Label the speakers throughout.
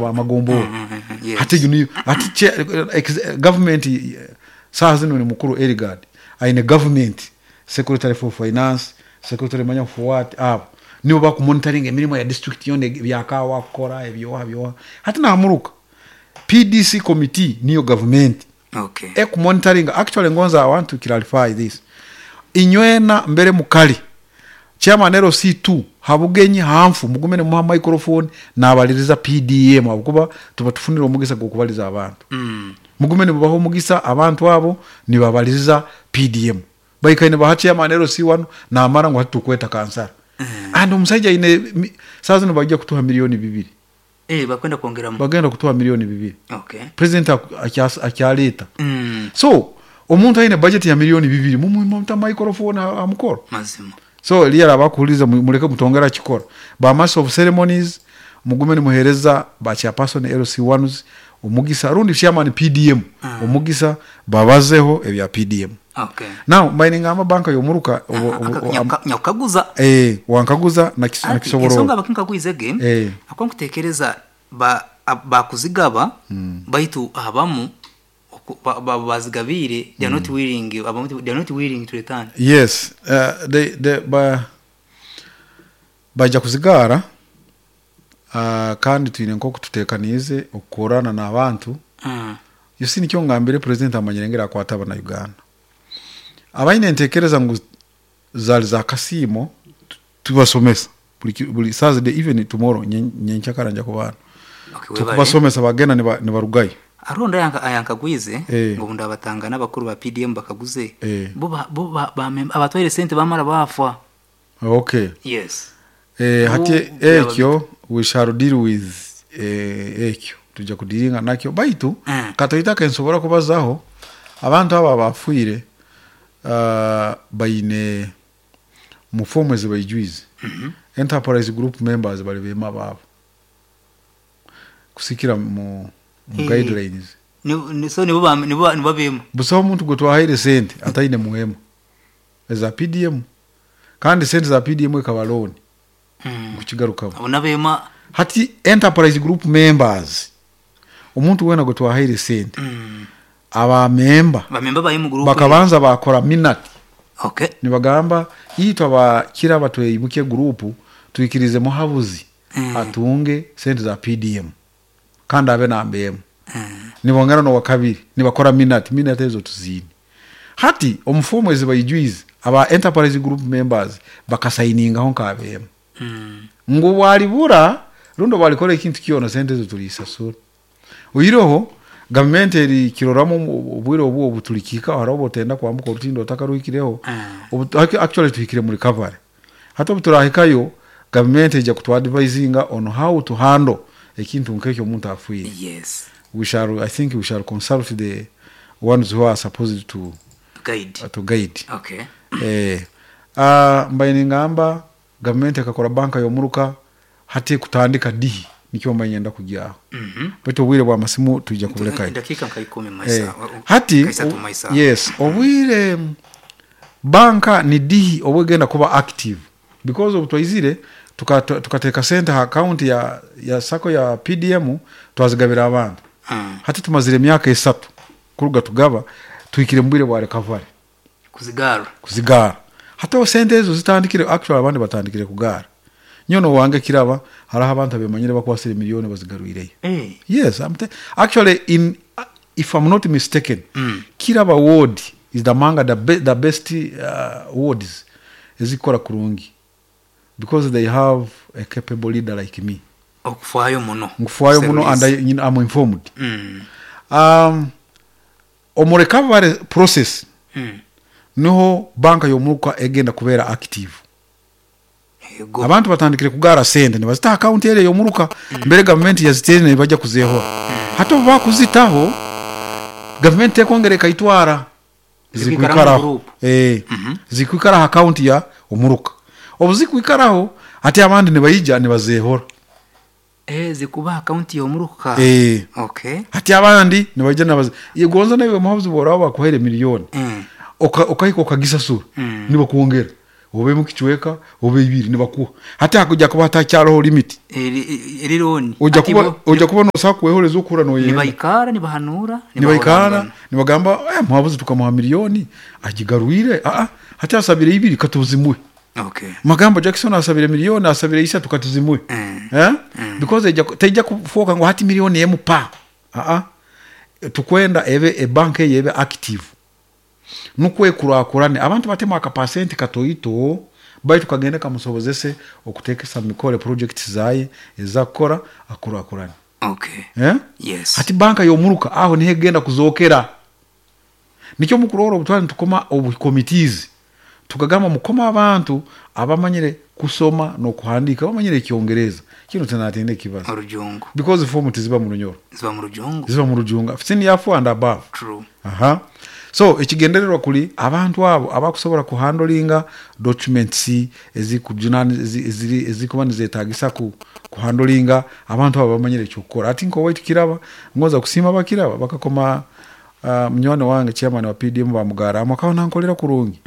Speaker 1: Amagombolola hati egyo niyo hati gavumenti saaha zinu ni mukuru Eligard aine gavumenti secretary for finance, secretary manya for what abo nibo bakumonitaringa emirimo ya district yoona ebya kaawa kukora ebyoha byoha hati namuruka PDC committee niyo gavumenti ekumonitaringa actually ngonza I want to clarify this inywena mbere mukari Chairman LC2 ha bugenyi ha nfu mugume nimuha microphone nabaliriza PDM ahabw'okuba tuba tufunire omugisa gw'okubaliza abantu. Mugume nimubaha omugisa abantu abo nibabaliriza PDM. Baikaire nibaha Chairman LC1 namara ngu hati tukweta kansara. And omusaija aine saaha zinu baija kutuha milioni bibiri.
Speaker 2: Eh, bakwenda kwongeramu.
Speaker 1: Bagenda kutuha milioni bibiri.
Speaker 2: Okay.
Speaker 1: President akyaleeta. So omuntu aine budget ya milioni bibiri mumuhe muta microphone aha mukoro.
Speaker 2: Mazima.
Speaker 1: So eliya araba akuhuririza mureke mutongere akikora. Ba master of ceremonies mugume nimuhereza ba chairperson LC ones omugisa rundi chairman PDM omugisa babazeho ebya PDM.
Speaker 2: Okay.
Speaker 1: Now mbaire ningamba banka yomuruka
Speaker 2: Nyakukaguza.
Speaker 1: Eh, wankaguza
Speaker 2: Ati
Speaker 1: nakisoborora.
Speaker 2: ensonga bakinkagwize ge ahakuba nkutekereza ba bakuzigaba baitu abamu bazigabiire they are not willing abamu they are not willing to return.
Speaker 1: Yes, uh, they, they, ba, baija kuzigaara uh, kandi twine nk'oku tuteekaniize okukorana n'abantu. You see nikyo ngambire president amanyire engeri akwata abana Uganda. Abaine entekereza ngu zari za kasiimo tubasomesa buri ki- buri Thursday even tomorrow nyenkyakara nja kuba hanu.
Speaker 2: Okay, webale.
Speaker 1: Tukubasomesa bagenda nibarugayo.
Speaker 2: Hariho ondi ayankagwize ngu obu ndabatangana abakuru ba PDM bakaguze bo bo abatwaire sente bamara bafa.
Speaker 1: Okay.
Speaker 2: Yes.
Speaker 1: Hati
Speaker 2: Bo byaba
Speaker 1: ekyo
Speaker 2: bita.
Speaker 1: we shall deal with ekyo twija kudiringa nakyo baitu katoito akensobora kubazaho abantu abo abafwire baine mu fomu ezi baijwize enterprise group members bari beema baabo kusikira mu guidelines.
Speaker 2: So nibo nibo beema?
Speaker 1: Busaho muntu gwe twahaire sente ataine muhema eza PDM kandi sente za PDM ekaba loan nkukigarukamu.
Speaker 2: Abo nabeema.
Speaker 1: Hati enterprise group members omuntu weena gwe twahaire sente aba memba
Speaker 2: Bamemba baye mu group
Speaker 1: bakabanza bakora minute
Speaker 2: Okay.
Speaker 1: nibagamba itwe abakira batweimuke group twikirize muhabuzi atunge sente za PDM kandi abe namba emwe. Nibongera nowakabiri nibakora minute, minute ezo tuziine. Hati omu form ezi baijwize aba enterprise group members bakasayiningaho nk'abeema ngu obu aribura rundi obu arikora ekintu kyona sente ezo turisasura. Oihireho gavumenti erikiroramu obwire obu obu turikihikaho hariho obu otenda kwambuka orutindo otakaruhikireho obu actually tuhikire mu recovery. Hati obu turahikayo gavumenti eija kutu advisinga on how to handle ekintu nk'ekyo omuntu afiire.
Speaker 2: Yes.
Speaker 1: We shall, I think we shall consult the ones who are supposed to
Speaker 2: Guide.
Speaker 1: to guide.
Speaker 2: Okay.
Speaker 1: Eh, ah, mbaire ningamba gavumenti ekakora banka y'omuruka hati ekutandika dihi nikyo mbaire niinyenda kugyaho. Baitu obwire bw'amasimu twija kuburekayo.
Speaker 2: Edakiika nka ikumi
Speaker 1: Eh,
Speaker 2: maisa.
Speaker 1: hati
Speaker 2: Nka isatu maisa.
Speaker 1: yes, obwire banka ni dihi obu egenda kuba active because obu twaizire tukateeka sente ha account ya sacco ya PDM twazigabira abantu. Hati tumazire emyaka esatu kuruga tugaba tuhikire mu bwire bwa recovery.
Speaker 2: Kuzigaara.
Speaker 1: Kuzigaara. Hati aho sente ezo zitandikire actually abandi batandikire kugaara. Nyowe n'owange kiraba hariho abantu abemanyire bakwasire milioni bazigarwireyo. Yes, I'm actually in if I'm not mistaken, Kiraba ward is among the best wards ezikukora kurungi because they have a capable leader like me.
Speaker 2: Okufwayo muno.
Speaker 1: Nkufwayo muno and I'm informed. Omu recovery process niho banka y'omuruka egenda kubeera active. Abantu batandikire kugaara sente nibazita aha account eri ey'omuruka mbere gavumenti yaziteire nibaija kuzeehora. Hati obu baakuzitaho, gavumenti tekwongera ekaitwara,
Speaker 2: Zikwikara omu
Speaker 1: zikwikaraho.
Speaker 2: group.
Speaker 1: Zikwikara aha account ya omuruka. Obu zikwikaraho, hati abandi nibaija nibazeehora.
Speaker 2: Zikuba aha account y'omuruka. Okay.
Speaker 1: Hati abandi nibaija nibaze gonza naiwe muhabuzi obu oraaba bakuhaire milioni, okahika okagisasura, nibakwongera. Oba emu kicweka oba ibiri nibakuha. Hati hakuja kuba hatakyariho limit.
Speaker 2: Eri loan.
Speaker 1: Oija
Speaker 2: Hati
Speaker 1: kuba
Speaker 2: bo
Speaker 1: oija kuba nosobola kwehoreza okuhurra noyenda.
Speaker 2: Nibaikara nibahanuura,
Speaker 1: Nibaikara
Speaker 2: nibahorangana.
Speaker 1: nibagamba eh muhabuzi tukamuha million agigarwire aa hati asabire ibiri katuzimuhe.
Speaker 2: Okay.
Speaker 1: Magambo Jackson asabire million asabire isatu katuzimuhe. Eh? Because eija teija kufooka ngu hati million emu pa aa tukwenda ebe ebank eyo ebe active. Nukwo ekurakurane. Abantu batemu akapasenti katoito baitu kagende kamusobozese okutekesa mu mikoro projects zaye ezakukora akurakurane.
Speaker 2: Okay.
Speaker 1: Eh?
Speaker 2: Yes.
Speaker 1: Hati banka y'omuruka aho niho egenda kuzokera. Nikyo mukurora obu twali nitukoma obu committees tukagamba mukome abantu abamanyire kusoma n'okuhandiika bamanyire ekyongereza. Kinu tinatenda ekibazo.
Speaker 2: Orujungu.
Speaker 1: Because form tiziba mu Runyoro.
Speaker 2: Ziba mu Rujungu.
Speaker 1: Ziba mu Rujunga. Senior 4 and above.
Speaker 2: True.
Speaker 1: Aha. So ekigendererwa kuri abantu abo abakusobora kuhandolinga documents ezikujunani eziri ezikuba nizetagisa ku kuhandolinga abantu abo bamanyire ekyokukora. Hati nk'owaitu Kiraba ngonza kusiima abakiraba bakakoma uh, munywani wange chairman wa PDM bamugaramu akaba nankolera kurungi.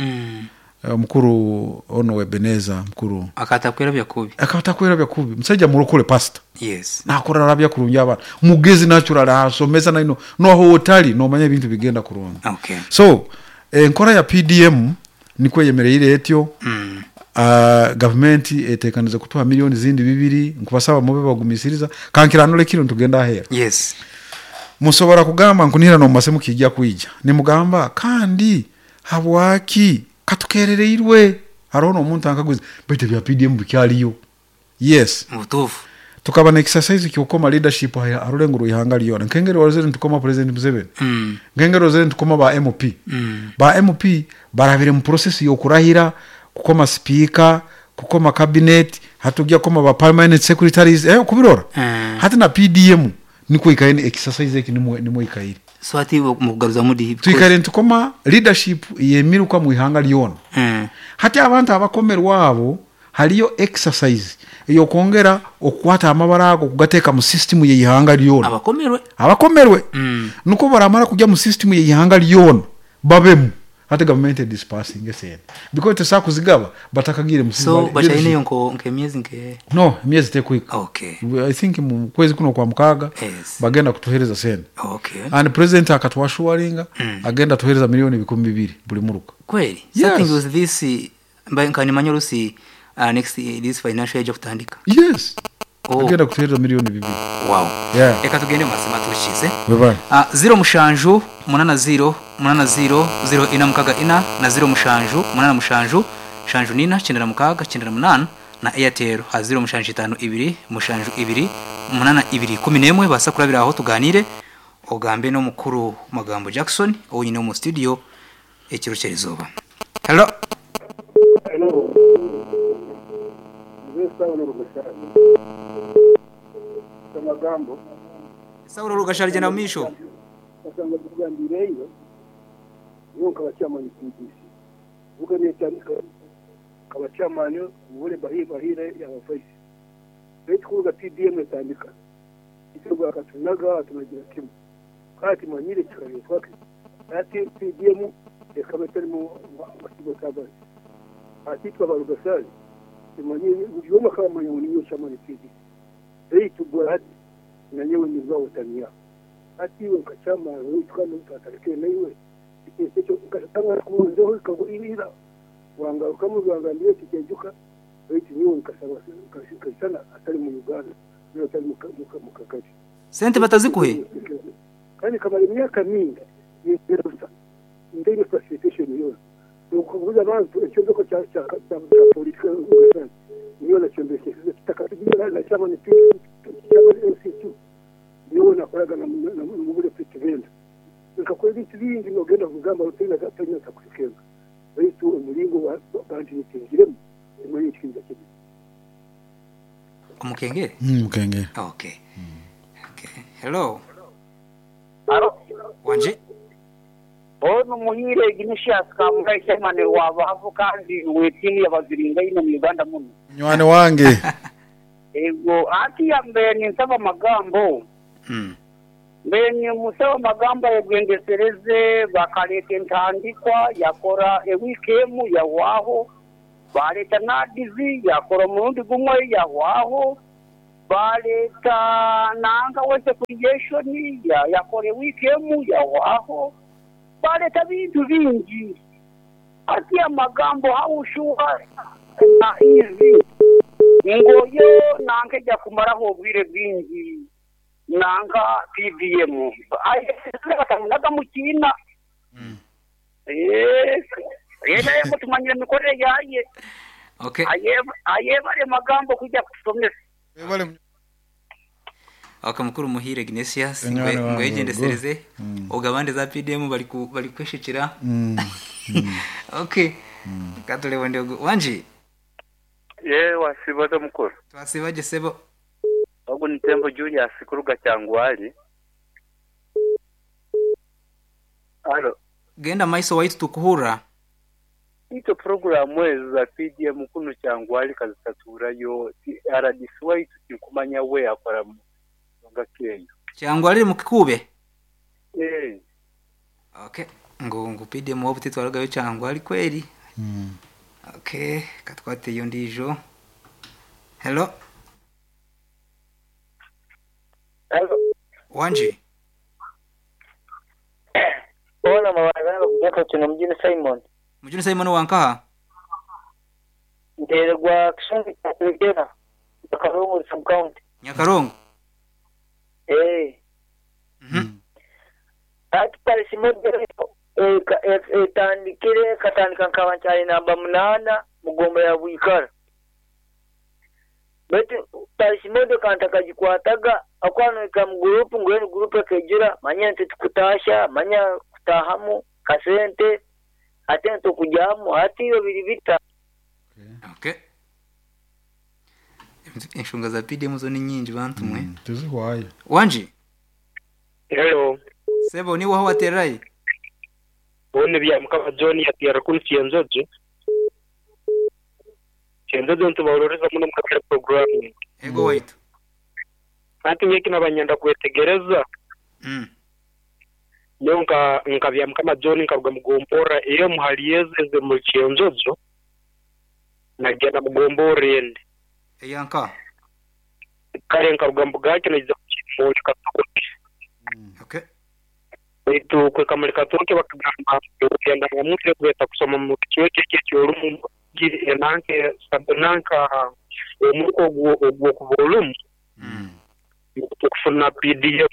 Speaker 1: Omukuru ono Ebeneza mukuru.
Speaker 2: Akaba atakwerabya kubi.
Speaker 1: Akaba atakwerabya kubi. Musaija murokore pastor.
Speaker 2: Yes.
Speaker 1: Nakora arabya kurungi abaana. Mugezi natural asomesa naino noho otali nomanya ebintu bigenda kurungi.
Speaker 2: Okay.
Speaker 1: So enkora ya PDM nikwo eyemereire etyo. Gavumenti etekanize kutuha millioni zindi bibiri nkubasaba mube bagumisiriza. Kankiranure kinu nitugenda aheeru.
Speaker 2: Yes.
Speaker 1: Musobora kugamba nkunihira nomumase mukiija kwija nimugamba kandi Habwaki? Katukerereirwe. Haroho n'omuntu ankaguza, baitu ebya PDM bikyaliyo? Yes.
Speaker 2: Mubutuufu.
Speaker 1: Tukaba na exercise ky'okukoma leadership ha rulengo rw'ihanga lyona. Nk'engeri warozere nitukoma President Museveni, nk'engeri orozere nitukoma ba MP. Ba MP barabire mu process y'okurahira, kukoma sipiika, kukoma cabinet, hati tugya kukoma ba permanent secretaries, eh okubirora? Hati na PDM Nikwo ikaire ni exercise eki nimwo nimwo ikaire.
Speaker 2: So hati mukugaruzamu di
Speaker 1: Twikaire nitukoma leadership y'emiruka mu ihanga lyona. Hati abantu abakomerwe abo hariyo exercise ey'okwongera okukwata amabara ago kugateeka mu system y'eihanga lyona.
Speaker 2: Abakomerwe.
Speaker 1: Abakomerwe. Nikwo baramara kugya mu system y'eihanga lyona babemu. Hati gavumenti e dispersinge esente because tesobola kuzigaba batakagiire mu
Speaker 2: So bakyaineyo nko nk'emyezi nke.
Speaker 1: No, emyezi tekuhika.
Speaker 2: Okay.
Speaker 1: I think mu kwezi kuno okwa mukaaga
Speaker 2: Yes.
Speaker 1: bagenda kutuhereza sente.
Speaker 2: Okay.
Speaker 1: And president akatuassuringa agenda tuhereza milioni 2000 buli muruka.
Speaker 2: Kweli?
Speaker 1: Yes.
Speaker 2: Starting with this mba nkanimanya orusi next this financial year eja kutandika.
Speaker 1: Yes.
Speaker 2: Oh.
Speaker 1: Agenda kutuhereza milioni bibiri.
Speaker 2: Wow.
Speaker 1: Yeah.
Speaker 2: Reka tugende mumazima turukize.
Speaker 1: Webale.
Speaker 2: Ziro mushanju munana ziro munana ziro ziro ina mukaga ina na ziro mushanju munana mushanju mushanju nina kyenda na mukaga kyenda na munana na Airtel aha ziro mushanju itano ibiri mushanju ibiri munana ibiri ikumi n'emwe baasa kurabira aho tuganiire ogambe n'omukuru Magambo Jackson ou nyine omu studio ekiro ky'erizooba. Hello.
Speaker 3: Hello. Nze Saulo Rugashari. Amagambo.
Speaker 2: Saulo Rugashari gyenda omu maisho.
Speaker 3: Kasanga tugambiireyo nyowe nkaba chairman PDC. Buga netandika nkaba chairman Mubure Bahire yaba vice. Baitu kuruga PDM etandika itwe bwakatunaga tunagira kimwe. Kandi timanyire kikaretwa ki. Hati PDM ekaba etarimu ba civil servants. Hati itwe aba Rugasari timanyire buri omwe akaba amanya ngu ninyowe chairman PDC. Baitu bwa hati nanyowe ninza otaniya. Hati iwe nka chairman waitu kandi ou twatandikire naiwe ekintu ekyo nkasanga nkubuurizeho ekagwa ira wangarukamu wangambira oti kyejuka baitu nyowe nkasaba nkaisana atari mu Uganda nari atari mu kagari.
Speaker 2: Sente batazikuhe?
Speaker 3: Kandi nkamara emyaka mingi ninyerusa ntaine facilitation yoona. Nokubuuza abantu ekyombeko kya kya kya police Rwagasana nyowe nakyombekyesize kitaka na chairman chairman LC2 nyowe nakoraga na Mubule Pete Benda. Nkakora ebintu bingi nogenda kugamba toine ntakuhikenga baitu omuringo bantiritingiremu timanyire ekikiriza kibi.
Speaker 2: Omukengere?
Speaker 1: Mukengere.
Speaker 2: Okay. Okay. Hello.
Speaker 4: Haro.
Speaker 2: Wangi.
Speaker 4: Onu Muhiire Ignatius Kamugaye Chairman wa Bahavu kandi w'etiimu y'abaziringaine omu Uganda munu.
Speaker 1: Munywani wange.
Speaker 4: Ego hatiya mbaire ninsaba amagambo. Mbaire nimusaba amagambo ayegyendesereze bakaleeta entandikwa yakora ewiiki emu yahwaho. Baaleeta NAADS yaakora omurundi gumwe yahwaho, baaleeta nanka wealth creation yakora ewiiki emu yahwaho, baaleeta bintu bingi. Hati amagambo how sure is ngu oyo nanka eja kumaraho obwire bwingi nanka PDM batamunaga mu kiina. Naye ngu tumanyire emikorere yaaye.
Speaker 2: Okay.
Speaker 4: Ayebare magambo kwija kutusomesa.
Speaker 2: Okay, mukuru Muhire Ignatius,
Speaker 1: Munywani wange
Speaker 2: ngwegyendesereze
Speaker 1: ogwo.
Speaker 2: ogu abandi za PDM bari kweshekera. Okay. Katurebe ondi ogu. Wangi?
Speaker 5: Ye wasiiba ota mukuru?
Speaker 2: Twasiiba gye sebo.
Speaker 5: Ogu ni Tembo Julius kuruga Kyangwali. Halo.
Speaker 2: Genda maiso waitu tukuhurra.
Speaker 5: Itwe puroguramu ezo za PDM kunu Kyangwali kazitatuurayo. RDC waitu tinkumanya we akora mu nsonga ki eyo.
Speaker 2: Kyangwali eri mu Kikuube?
Speaker 5: Eh.
Speaker 2: Okay. Ngu PDM waaba titwarugayo Kyangwali kweri. Okay, katwateyo ondiijo. Hello.
Speaker 6: Hello.
Speaker 2: Wangi.
Speaker 6: Ona mabara kutoka kino mjini Simon.
Speaker 2: Mjini Simon wankaha?
Speaker 6: Nteregwa Kishungi Kyakirigera, Nyakarongo sub county.
Speaker 2: Nyakarongo.
Speaker 6: Eh. Ati parish model etandikire katandika nkaba nkyali namba 8 mugomba ya Bwikara. Baitu parish model kanta kagikwataga akwanwika mu group ngwenu group ekejura manya nti tukutasha manya kutahamu kasente ate ntukujyamu ati iyo biri bita.
Speaker 2: Okay. Enshonga za PDM zo ni nyingi bantu mwe.
Speaker 1: Tizihwayo.
Speaker 2: Wangi?
Speaker 7: Hello.
Speaker 2: Sebo ni waho waterai?
Speaker 7: Bone bya mukama John yatera kuri Cyenjojo. Cyenjojo ntubaroreza muno mukakira program.
Speaker 2: Ego waitu.
Speaker 7: Ati nyeki nabanyenda kwetegereza. Nyo nka bya mukama John nkaruga mugombora iyo muhaliyeze mu Cyenjojo. Nagenda mugombora ende.
Speaker 2: Eyanka.
Speaker 7: Kare nkaruga mbugake nagiza muri Katoke.
Speaker 2: Okay.
Speaker 7: Baitu kweka muri Katoke bakagamba kugenda ngamutire kweta kusoma mu kicweka eky'orumu nanke nanka omuko ogwo kuvolumu. Okufuna PDF.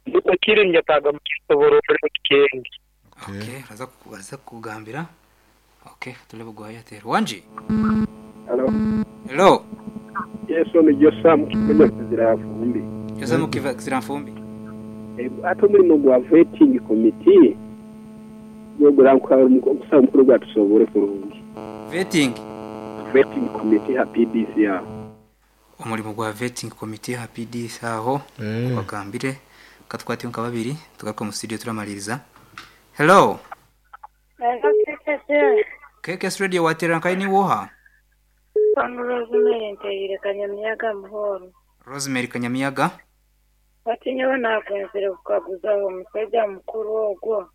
Speaker 7: Nuko kiri njataga mu kisoboro kikenge.
Speaker 2: Okay, raza kugambira. Okay, tulebe gwa Airtel. Wangi?
Speaker 3: Hello.
Speaker 2: Hello.
Speaker 3: Yesu ni Josam Kimenya Kizira Fumbi.
Speaker 2: Josam Kizira Fumbi.
Speaker 3: Ate omurimo gwa vetting committee gwogura omusawo mukuru gwatusobore kurungi.
Speaker 2: Vetting?
Speaker 3: Vetting committee ha PDC aho.
Speaker 2: Omurimo gwa vetting committee ha PDC aho bagambire katwate nka babiri tugaruka mu studio turamaliriza. Hello.
Speaker 8: Hello KKS.
Speaker 2: KKS Radio watera nkai ni woha?
Speaker 8: Pano Rosemary nteire Kanyamiyaga muhoro.
Speaker 2: Rosemary Kanyamiyaga.
Speaker 8: Batinyewe nakwenzire kukaguzaho omusajja mukuru ogwo.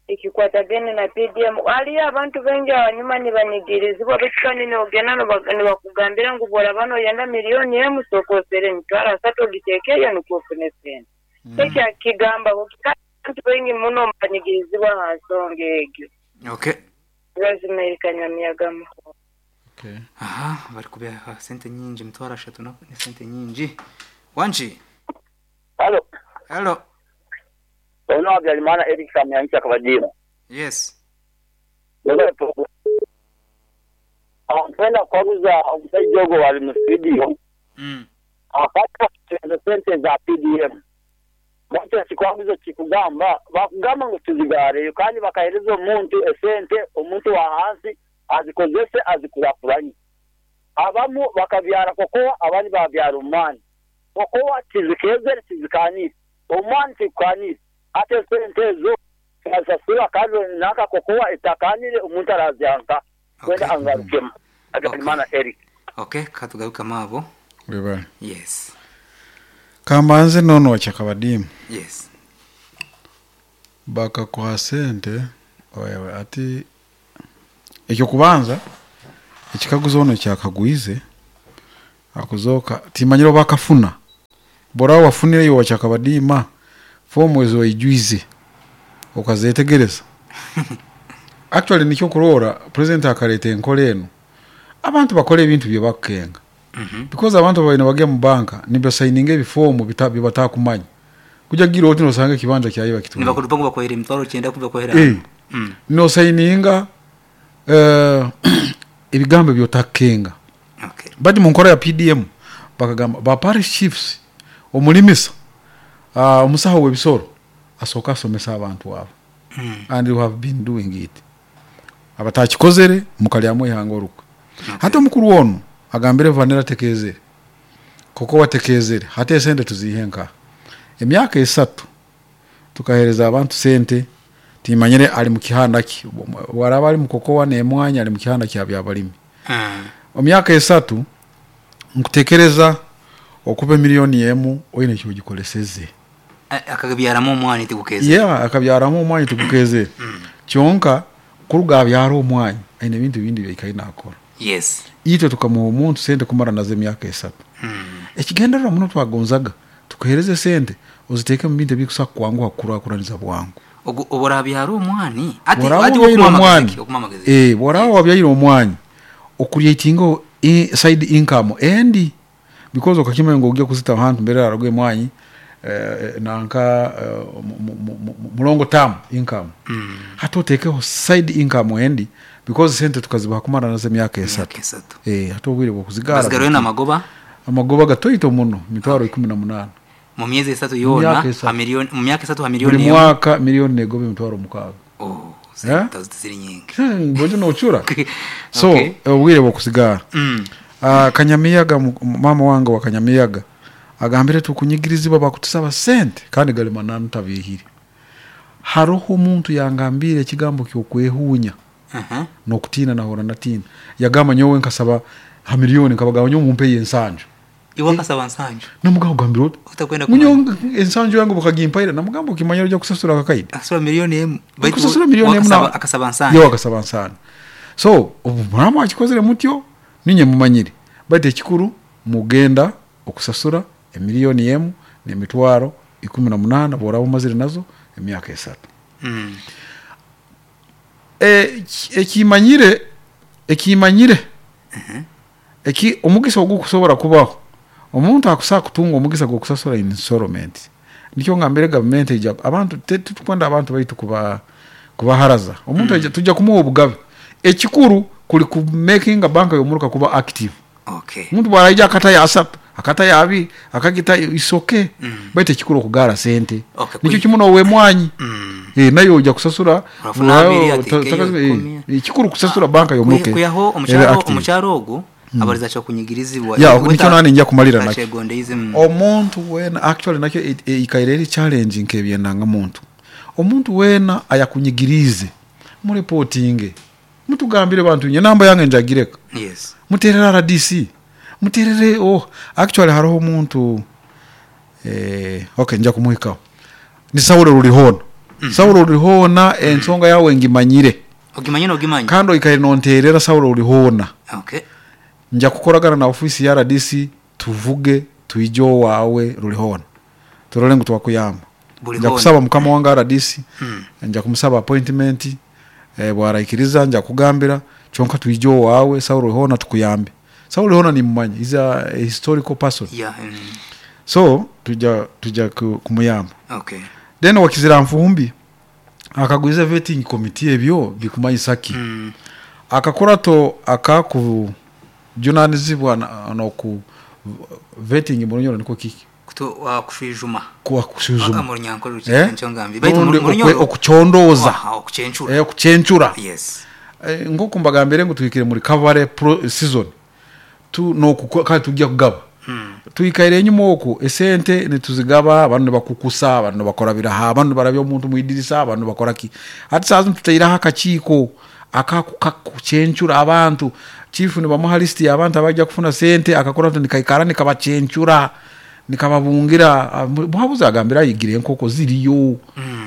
Speaker 8: Ikikwatagene na PDM aliyo abantu bengi abanyuma nibanigirizibwa baitu nogenda nibakugambira ngu bora bano yenda milioni emu sokosere emitwaro asatu ogiteekeyo nikwo ofune sente. Ekyo kigamba abantu bengi muno banigirizibwa aha nsonga egyo.
Speaker 2: Okay.
Speaker 8: Rosemary Kanyamiyaga muhoro.
Speaker 1: Okay.
Speaker 2: Aha, bari kubeha sente nyingi emitwaro ashatu ne sente nyingi. Wangi?
Speaker 4: Hello.
Speaker 2: Hello.
Speaker 4: Ono Habyarimana Eric Samyancha Kabadira.
Speaker 2: Yes.
Speaker 4: Mpenda kwaguza omusajja ogwo wali mu studio. Akata sente za PDM. Bwatyo kikwaguzo kikugamba bakugamba ngu tuzigareyo kandi bakahereza omuntu esente omuntu wa hansi azikozese azikurakuranye. Abamu bakabyara kokoa abandi babyara omwani. Kokoa tizikezere tizikanire. Omwani tikukanire. Ate sente ezo azasura kandi naka kokoa itakanire omuntu arazyanka. Kwenda angarukema. Habyarimana Eric.
Speaker 2: Okay, katugaruka mabo.
Speaker 1: Webale.
Speaker 2: Yes.
Speaker 1: Kambanze nono kyakabadimu.
Speaker 2: Yes.
Speaker 1: Bakakuha sente oyawe ati Eky'okubanza, ekikaguzo onu eki akagwize, akuzooka timanyire oba akafuna. Bw'oraba wafunire iwe wakyakabadiima, foomu ezi waijwize okazetegereza? Actually nikyo okuroora President akareeta enkora enu, abantu bakore ebintu byebakukenga because abantu ababaire nibagya mu banka nibasayininga ebifoomu bibatakumanya. Kuja gira oti nosanga ekibanja kyaye bakitwaire.
Speaker 2: Nibakurupa ngu bakuhaire emitwaro kyenda ku bakuhaire aha.
Speaker 1: Nosayininga ebigambo ebi otakukenga.
Speaker 2: Okay.
Speaker 1: But mu nkora ya PDM bakagamba ba parish chiefs, omurimisa, omusaho w'ebisoro asooke asomese abantu abo and we have been doing it. Abatakikozere mukaryamu eihanga orukwe. Hati omukuru onu agambire Vanilla atekeezere, Koko watekeezere, hati esente tuziihe nkaha? Emyaka esatu tukaheereza abantu sente, timanyire ari mu kihanda ki, obu araabe ari mu kokowa n'emwaanya ari mu kihanda kya byabarimi. Omu myaka esatu nkutekereza okuba emiliyoni emu oine eki ogikoreseze.
Speaker 2: Akabyaramu omwanya tigukeezere.
Speaker 1: Yeah, akabyaramu omwanya tigukeezere. Kyonka kuruga abyara omwanya aine ebintu ebindi ebi aikaire naakora.
Speaker 2: Yes.
Speaker 1: Itwe tukamuha omuntu sente kumara nazo emyaka esatu. Ekigendererwa muno twagonzaga tukuhereze sente oziteeke mu bintu ebikusobola kukwanguha kukurakuraniza bwangu.
Speaker 2: Ogu obu orabyara omwani, hati
Speaker 1: Bworaba
Speaker 2: hati
Speaker 1: wabyaire
Speaker 2: okumuha amagezi
Speaker 1: omwani,
Speaker 2: ki? Okumuha amagezi ki?
Speaker 1: eh, bworaba wabyaire omwani okureatingaho side income endi because okakimanya ngu ogya kuzita ahantu mbere hararuga emwanyi nanka mu long term income. Hati otekeho side income endi because sente tukazibaha kumara nazo emyaka esatu.
Speaker 2: Emyaka esatu.
Speaker 1: Eh, hati obwire bw'okuzigaara
Speaker 2: Bazigarure
Speaker 1: buhikire.
Speaker 2: n'amagoba?
Speaker 1: Amagoba gatoito muno, mitwaro ikumi na munaana.
Speaker 2: Mu myezi esatu
Speaker 1: Mu
Speaker 2: yoona,
Speaker 1: myaka
Speaker 2: ha
Speaker 1: esatu.
Speaker 2: milioni, mu myaka esatu ha
Speaker 1: Buri
Speaker 2: milioni emwe?
Speaker 1: mwaka milioni negoba emitwaro mukaaga.
Speaker 2: Oh,
Speaker 1: Eh?
Speaker 2: sente tiziri nyingi.
Speaker 1: Mbwenu nocura. So,
Speaker 2: Okay.
Speaker 1: obwire bw'okuzigaara. Kanyamiyaga, maama wange owa Kanyamiyaga agambire tukunyigirizibwa bakutusaba sente kandi gari mananu tabiihire. Haroho omuntu yangambiire ekigambo ky'okwehuunya n'okutiina nahurra natiina. Yagamba nyowe nkasaba ha milioni nkabagamba nyowe mumpeyo ensanju.
Speaker 2: Iwe wakasaba nsanju?
Speaker 1: Namugamba ogambire ota?
Speaker 2: Otakwenda
Speaker 1: Ngu nyowe
Speaker 2: kumanya.
Speaker 1: ensanju yange bakagimpaire namugamba okimanyire oija kusasura akakaide.
Speaker 2: Akasasura milioni emu. Baitu
Speaker 1: Okusasura milioni emu
Speaker 2: wakasaba akasaba nsanju.
Speaker 1: Yowe akasaba nsanju. So obu muraba mwakikozire mutyo ninye mumanyire baitu ekikuru mugenda okusasura emiliyoni emu n'emitwaro 18 obu oraba omazire nazo emyaka esatu. Ekimanyire ekimanyire eki omugisa ogukusobora kubaho, omuntu akusobola kutunga omugisa gw'okusasura installment. Nikyo ngambire gavumenti eija abantu titukwenda abantu baitu kuba kubaharaza. Omuntu aija twija kumuha obugabe. Ekikuru kuri kumekinga banka y'omuruka kuba active.
Speaker 2: Okay.
Speaker 1: Omuntu bwaraija akatayo asatu, akatayo abiri, akagitayo it's okay. Baitu ekikuru okugaara sente.
Speaker 2: Okay,
Speaker 1: Nikyo kimwe n'ow'emwanyi. Nayo oija kusasura
Speaker 2: Orafuna abiri, ateekeyo ikumi.
Speaker 1: ekikuru kusasura banka y'omuruka
Speaker 2: Kwihaho
Speaker 1: ebe
Speaker 2: omukyara
Speaker 1: active.
Speaker 2: omukyara ogu abarize akyakunyigirizibwa.
Speaker 1: Yeah, nikyo nanye nja kumalira nakyo.
Speaker 2: Akyegondeize.
Speaker 1: Omuntu weena actually nakyo eikaire eri challenge nk'eby'endanga muntu. Omuntu weena ayakunyigiriize murepotinge. Mutugambire bantu inywe enamba yange njagireka.
Speaker 2: Yes.
Speaker 1: Muteerere RDC, muteerere oh actually haroho omuntu okay nja kumuhikaho. Ni Saulo Rurihoona. Saulo Rurihoona ensonga yaawe ngimanyire.
Speaker 2: Ogimanyire n'ogimanya?
Speaker 1: Kandi oikaire nonteerera Saulo Rurihoona.
Speaker 2: Okay.
Speaker 1: Nja kukoragana na ofiisi ya RDC tuvuge twije owaawe Rurihoona turore ngu twakuyamba.
Speaker 2: Buri
Speaker 1: Nja
Speaker 2: hoona.
Speaker 1: kusaba mukama wange RDC, nja kumusaba appointment, bwaraikiriza nja kukugambira kyonka twije owaawe Saulo Rurihoona tukuyambe. Saulo Rurihoona nimumanya, he's a historical person.
Speaker 2: Yeah.
Speaker 1: So twija twija kumuyamba.
Speaker 2: Okay.
Speaker 1: Then owakizira Nfumbi akagwiza vetting committee ebyo bikumanyisa ki? Akakurato akakujunanizibwa n'oku vetting mu Runyoro nikwo kiki?
Speaker 2: Kushwijuma.
Speaker 1: Kushwijuma.
Speaker 2: Mu Runyankore nikyo ngambire. Baitu mu Runyoro
Speaker 1: Okucondooza.
Speaker 2: Okucencura.
Speaker 1: Okucencura.
Speaker 2: Yes.
Speaker 1: Nk'oku mbagambire ngu tuhikire mu recovery season, tu n'oku kare tujja kugaba. Twikaire enyima oku esente nituzigaba, banu nibakukusa, banu nibakora biraha, banu nibarabya omuntu omu idirisa, banu nibakora ki. Hati saaha zinu tutaireho akakiiko akakucencura abantu. Chiifu nibamuha lisiti y'abantu abaija kufuna sente, akakora nikaikara nikabacencura, nikababungira. Muhabuzi agambire aigire enkoko ziriyo,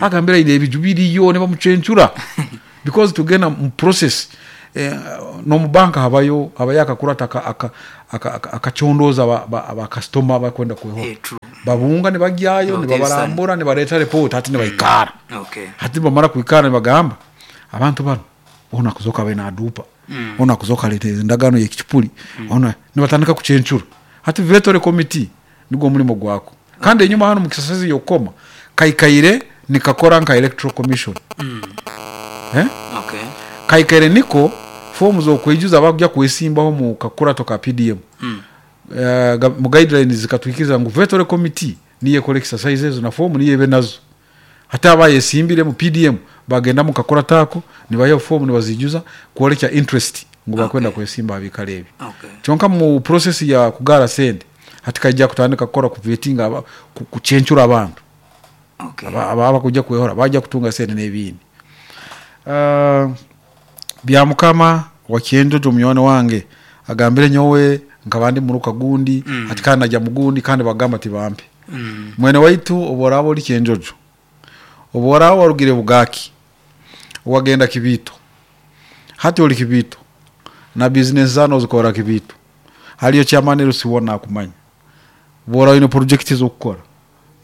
Speaker 1: agambire aine ebiju biriyo, nibamucencura because tugenda mu process. N'omu banka habayo habayo akakurata akacondooza ba kasitoma abarikwenda kwehora. Babunga nibagyayo nibabarambura nibareeta ripooti hati nibaikaara. Hati nibamara kwikaara nibagamba abantu banu onu akuzooka abaire naaduupa, onu akuzooka areeta endagaano y'ekicupuri, onu nibatandika kucencura. Hati Vetore Committee nigwo murimo gwako. Kandi enyima hanu omu kisasezi y'okukoma kaikaire nikakora nka Electoral Commission. Kaikaire niko foomu z'okwijuza abarikuja kwesimbaho omu kakurato ka PDM. Mu guidelines zikatwikiriza ngu Vetore Committee niyo ekora exercise ezo na foomu niyo ebe nazo. Hati abayesimbire omu PDM bagenda omu kakurato ako nibayihaho foomu nibaziijuza kworekya interest ngu barikwenda kwesimba aha biikaro ebi. Kyonka omu process ya kugaara sente hati kaija kutandika kukora kuvetinga kucencura abantu abakuija kwehora baija kutunga sente n'ebindi. Byamukama wa Kyenjojo munywani wange agambire nyowe nkaba ndi muruka gundi hati kandi naija mugundi kandi bagamba tibampe. Mwene waitu obu oraaba ori Kyenjojo, obu oraaba warugire Bugaki wagenda Kibiito, hati ori Kibiito na bizinesi zaawe nozikorra Kibiito, hariyo chairman LC woona akumanya. Obu oraaba oine porojekiti ez'okukora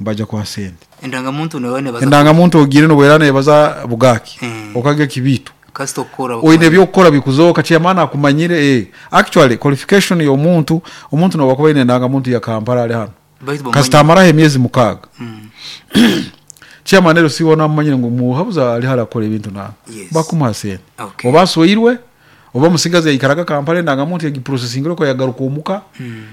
Speaker 1: nibaija kuha sente.
Speaker 2: Endangamuntu noba nebaza
Speaker 1: Endangamuntu ogiire nobu eraaba nebaza Bugaki, okagya Kibiito,
Speaker 2: Kasita okukora
Speaker 1: oine eby'okukora bikuzooka, chairman akumanyire, eh. Actually qualification y'omuntu, omuntu nobu akuba aine endangamuntu ya Kampala ari hanu,
Speaker 2: Baitu bamumanyire.
Speaker 1: Kasita amaraho emyezi mukaaga Chairman LC woona amumanyire ngu muhabuzi ari hare akukora ebintu na
Speaker 2: Yes.
Speaker 1: bakumuha sente.
Speaker 2: Okay.
Speaker 1: Oba asweirwe, oba omusigazi yaikaraga Kampala endangamuntu yagiprocessingire okwo yagaruka omuka,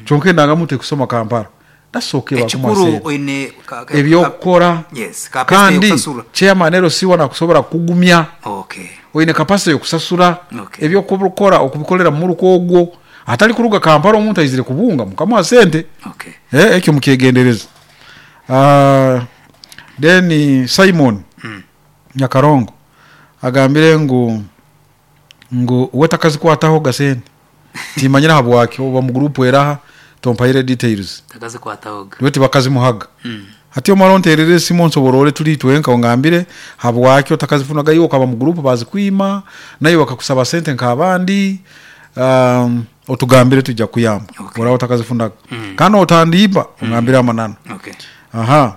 Speaker 1: kyonka endangamuntu ekusoma Kampala. That's okay bakumuha
Speaker 2: Ekikuru
Speaker 1: sente.
Speaker 2: oine ka- ka-
Speaker 1: Ebyokukora
Speaker 2: Yes, capacity
Speaker 1: kandi
Speaker 2: yokusasura.
Speaker 1: chairman LC woona akusobora kukugumya.
Speaker 2: Okay.
Speaker 1: Oine capacity yokusasura
Speaker 2: Okay.
Speaker 1: ebyokukora okubikorera mumuruka ogwo. Atari kuruga Kampala omuntu aizire kubunga mukamuha sente.
Speaker 2: Okay.
Speaker 1: Ekyo mukyegendereze. Then Simon Nyakarongo agambire ngu ngu we takazikwataho ga sente timanyire ahabwaki oba mu group eraha tompaire details.
Speaker 2: Takazikwatahoga.
Speaker 1: We tibakazimuhaga. Hati omare onterere esimu onsoborore turi itwenka ongambire habwaki otakazifunaga iwe okaba mu group bazikwima naiwe bakakusaba sente nk'abandi otugambire twija kukuyamba
Speaker 2: Okay.
Speaker 1: oraba otakazifunaga. Kandi otandimba ongambire amananu.
Speaker 2: Okay.
Speaker 1: Aha.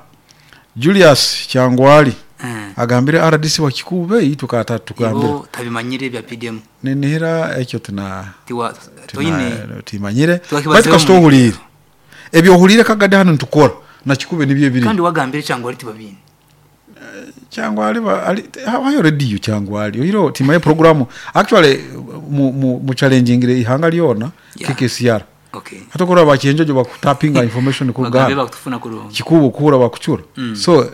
Speaker 1: Julius Kyangwali
Speaker 2: Mm.
Speaker 1: agambire RDC wa Kikuube itwe ka atatugambira.
Speaker 2: Ibo tabimanyire ebya PDM.
Speaker 1: Ninihira ekyo tina
Speaker 2: Tiwa toine
Speaker 1: tina timanyire.
Speaker 2: Twakibazeho
Speaker 1: Baitu kasita
Speaker 2: mu-
Speaker 1: ohuliire. Ebi ohuliire kagadi hanu nitukora na Kikuube nibyo ebiri.
Speaker 2: Kandi wagambire Kyangwali tibabine.
Speaker 1: Kyangwali ba ali habayo radio Kyangwali. Oiro timaye programu actually mu mu, mu challengingire ihanga lyona
Speaker 2: Yeah.
Speaker 1: KKCR.
Speaker 2: Okay.
Speaker 1: Hati okurora bakyenjojo bakutapinga information
Speaker 2: Bagambe
Speaker 1: kuruga
Speaker 2: bakutufuna kurungi.
Speaker 1: Kikuube okuhura bakucura. So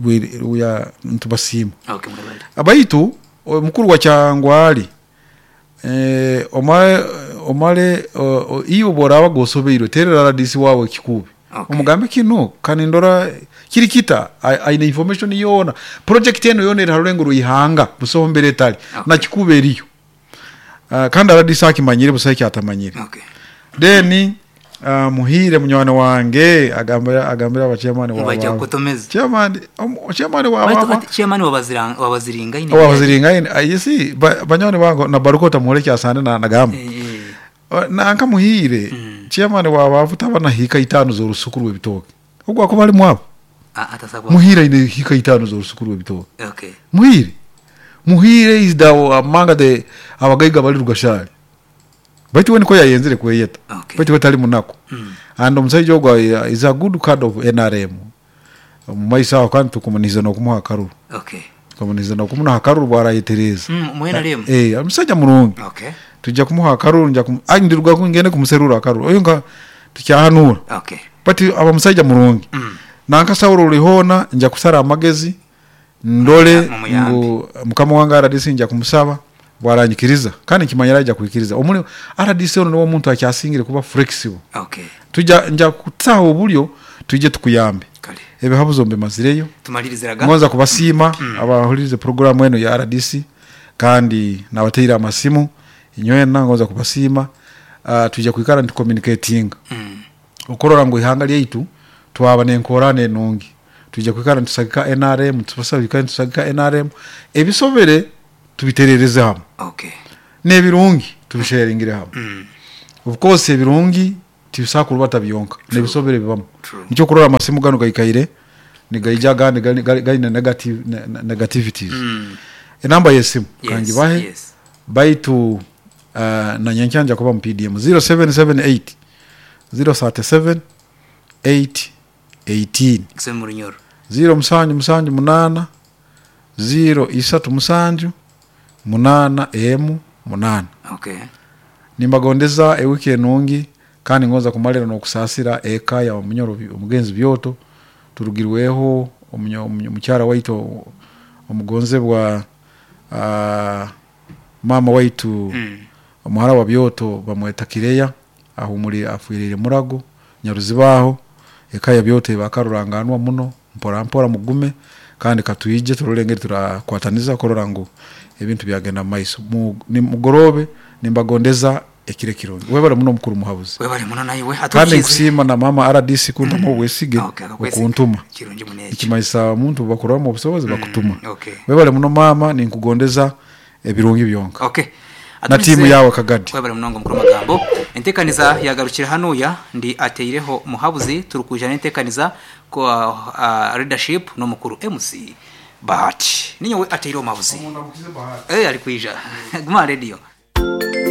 Speaker 1: we, we are nitubasiima.
Speaker 2: Okay, mwebale.
Speaker 1: Baitu omukuru wa Kyangwali omare omare iwe obu oraaba gosobeirwe terera RDC waawe Kikuube.
Speaker 2: Okay.
Speaker 1: Omugambe kinu kanindora kiri kita aine information yoona. Project enu yoona eri ha rurengo rw'eihanga busaho mbere etari.
Speaker 2: Okay.
Speaker 1: Na Kikuube eriyo. Kandi RDC akimanyire busaho eki atamanyire.
Speaker 2: Okay.
Speaker 1: Then Muhiire munywani wange agambira agambira aba chairman wa
Speaker 2: Baija
Speaker 1: ba
Speaker 2: kukutomeza.
Speaker 1: chairman chairman wa
Speaker 2: Baitu
Speaker 1: ba
Speaker 2: ati chairman wabazira wabaziringaine.
Speaker 1: wabaziringaine you see banywani bange na baruka otamuhora ekyasande na nagamba.
Speaker 2: Eh, eh.
Speaker 1: Nanka Muhiire chairman wa bavu taba na hiika itaano z'orusuku rw'ebitooke. Ogwo akuba ari mwavu.
Speaker 2: Ah, atasabwa.
Speaker 1: Muhiire aine hiika itaano z'orusuku rw'ebitooke.
Speaker 2: Okay.
Speaker 1: Muhiire. Muhiire is the among the abagaiga abari Rugashari. Baitu we nikwo yayenzire kweyeta.
Speaker 2: Okay.
Speaker 1: Baitu we tari munaku. And omusaija ogwo is a good card of NRM. Omu maiso aho kandi tukumunihiza n'okumuha akaruru.
Speaker 2: Okay.
Speaker 1: Tukamunihiza n'okumuha akaruru bwarayetereeza.
Speaker 2: Mu NRM?
Speaker 1: Eh, omusaija murungi.
Speaker 2: Okay.
Speaker 1: Twija kumuha akaruru nja kumu, ai ndiruga ngende kumuserura akaruru. Oyo nka tukyahanuura.
Speaker 2: Okay.
Speaker 1: But aba musaija murungi. Nanka Saulo ori hoona nja kusara amagezi ndore
Speaker 2: Mumuyambe.
Speaker 1: ngu mukama wange RDC nja kumusaba bwaranyikiriza kandi nkimanyire aija kwikiriza. Omuri RDC onu niwe omuntu akyasingire kuba flexible.
Speaker 2: Okay.
Speaker 1: Twija nja kutaho oburyo twije tukuyambe.
Speaker 2: Kare.
Speaker 1: Ebihabuzo mbimazireyo.
Speaker 2: Tumaliriziraga.
Speaker 1: Ngonza kubasiima abahuririze programu enu ya RDC kandi nabateire amasimu inywena ngonza kubasiima. Twija kwikara nitucommunicatinga. Okurora ngu ihanga ryaitu twaba n'enkorana enungi. Twija kwikara nitusagika NRM, nitubasaba twikare nitusagika NRM, ebisobere tubiterereze hamwe.
Speaker 2: Okay.
Speaker 1: N'ebirungi tubisheyaringire hamwe. Of course ebirungi tibisobola kurubata byonka, n'ebisobire bibamu. Nikyo okurora amasimu ganu gaikaire nigaija agandi gaine negativities. Enamba y'esimu kangibahe baitu na nyenkya nja kuba mu PDM 0778 037 818. Ziiro musanju musanju munaana ziiro isatu musanju munaana emu munaana. Nimbagondeza ewiiki enungi kandi ngonza kumalira n'okusaasira eka ya Munyoro Omugenzi Byoto turugirweho omukyara waitu omugonzebwa maama waitu omuhara wa Byoto bamweta Kireya. Ahumuriire afwiriire Murago, Nyaruziba aho, eka ya Byoto eba karuranganwa muno, mpora mpora mugume kandi katwije turole engeri turakwataniza kurora ngu ebintu byagenda mu maiso. Mugoroobe nimbagondeza ekiro ekirungi. Webale muno mukuru Muhabuzi.
Speaker 2: Webale muno naiwe.
Speaker 1: Kandi nkusiima na maama rdc kuntamu obwesige okuntuma.
Speaker 2: Kirungi muno ekyo.
Speaker 1: Nikimanyisa omuntu obubakuroramu obusobozi bakutuma. Webale muno maama ninkugondeza ebirungi byonka.
Speaker 2: Okay.
Speaker 1: Na tiimu yaawe Kagadi.
Speaker 2: Webale munonga mukuru Magambo. Entekaniza yagarukira hanuya ndi ateireho Muhabuzi turikwija nentekaniza leadership nomukuru MC Bahati. Ninyowe ateireho Muhabuzi.
Speaker 1: Omundamukize Bahati.
Speaker 2: Eh arikwija. Guma aha radio.